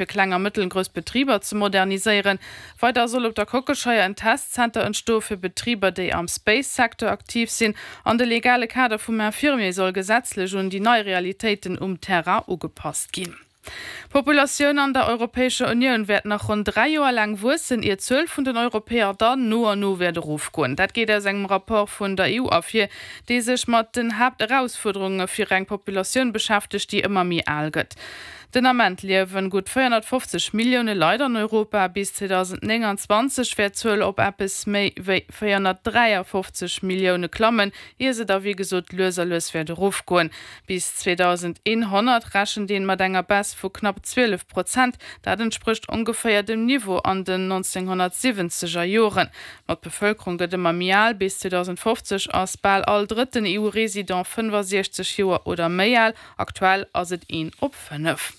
Fir kleng a mëttelgrouss Betriber ze moderniséieren. Weider soll op der Kockelscheier en Testzenter entstoe fir Betriber, déi am Space-Secteur aktiv sinn. An de legale Kader vum Infirmier soll gesetzlech un déi nei Realitéiten um Terrain ugepasst ginn. D'Populatioun an der Europäescher Unioun wäert nach ronn 3 Joer laang wuessen, ier d'Zuel vun den Europäer dann no an no wäert erofgoen. Dat geet aus engem Rapport vun der EU ervir, dee sech mat den Haapterausfuerderunge fir eng Populatioun beschäftegt, déi ëmmer méi al gëtt. Den Ament liewen gutt 450 Millioune Leit an Europa. Bis 2029 wäert d'Zuel op eppes méi wéi 453 Millioune klammen, ier se da wéi gesot lues a lues wäert erofgoen. Bis 2100 rechent een mat enger Baisse vu knapp 12 Prozent. Dat entsprécht ongeféier dem Niveau an den 1970 er Joren. Ma d'Bevëlkerung gëtt ëmmer méi al, bis 2050 ass bal all drëtten EU-Resident 65 Joer oder méi al. Aktuell ass et een op 5.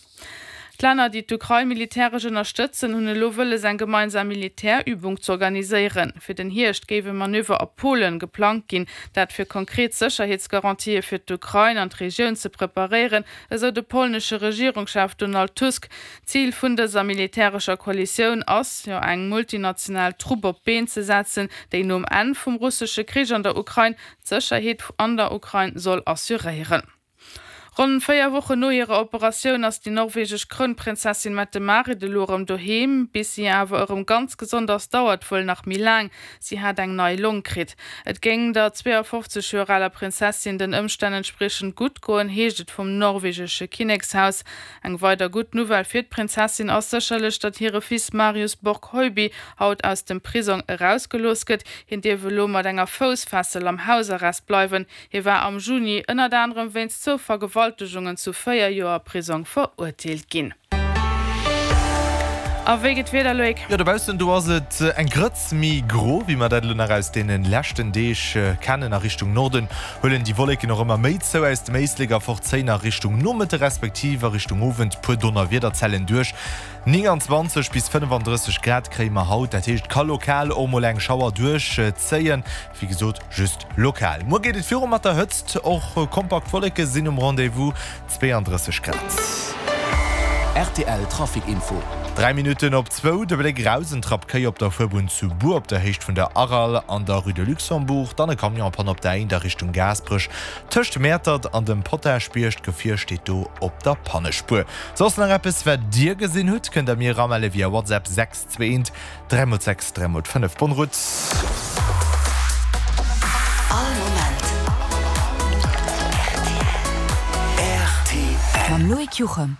D'Länner, déi d'Ukrain militäresch ënnerstëtzen, hunn elo wëlles eng gemeinsam Militärübung z'organiséieren. Fir den Hierscht géif e Manöver a Polen geplangt ginn, dat fir konkret Sécherheetsgarantië fir d'Ukrain an d'Regioun ze preparéieren, esou de polnesche Regierungschef Donald Tusk. Zil vun dëser militärescher Koalitioun ass jo eng multinational Trupp op d'Been ze setzen, déi nom Enn vum russesche Krich an der Ukrain d'Sécherheet an der Ukrain soll assuréieren. Ronn 4 Wochen no hirer Operatioun ass déi norwegesch Krounprinzessin Mette-Marit elo erëm doheem. Bis si awer erëm ganz gesond ass, dauert wuel nach méi laang. Si hat eng nei Long kritt. Et géing der 52 Joer aler Prinzessin den Ëmstänn entspriechend gutt goen, heescht et vum norwegesche Kinnekshaus. Eng weider gutt Nouvelle fir d'Prinzessin ass sécherlech, datt hire Fils Marius Borg Høiby haut aus dem Prisong erausgelooss gëtt. Hien dierf elo mat enger Foussfessel am Hausarrest bleiwen. Hie war am Juni ënnert anerem wéinst zwou Vergewaltegungen zu 4 Joer Prisong verurteelt ginn. A wéi geet d'Wieder, Loïc? Jo, dobaussen do ass et eng Grëtz méi gro, wéi mer dat elo nach aus deene leschten Deeg kennen. A Richtung Norden huelen déi Wolleken och ëmmer méi zou aus dem Éislek a fortzéien a Richtung Nomëtte respektiv a Richtung Owend puer Donnerwiederzellen duerch. 29 bis 35 Grad kréie mer haut, dat heescht, et ka lokal och mol eng Schauer duerchzéien. Wéi gesot, just lokal. Muer geet et viru mat der Hëtzt, och kompakt Wolleke sinn um Rendez-vous, 32 Grad. Rtl Trafic Info. 3 Minutten op zwou, de Bléck eraus, en Trapp Kéi op der Fuerbunn zu Bur op der Héicht vun der Aral an der Rue de Luxembourg, dann e Camion en panne op der A1 a Richtung Gaasperech tëscht Mäertert an dem Potaschbierg, d'Gefier steet do op der Pannespuer. Soss nach eppes wat dir gesinn hutt, kënnt der mir eramelle via WhatsApp 6 2 1 3 mol 6, 3 mol 5. Bonne route! All Moment rtl. Mam Loïc Juchem.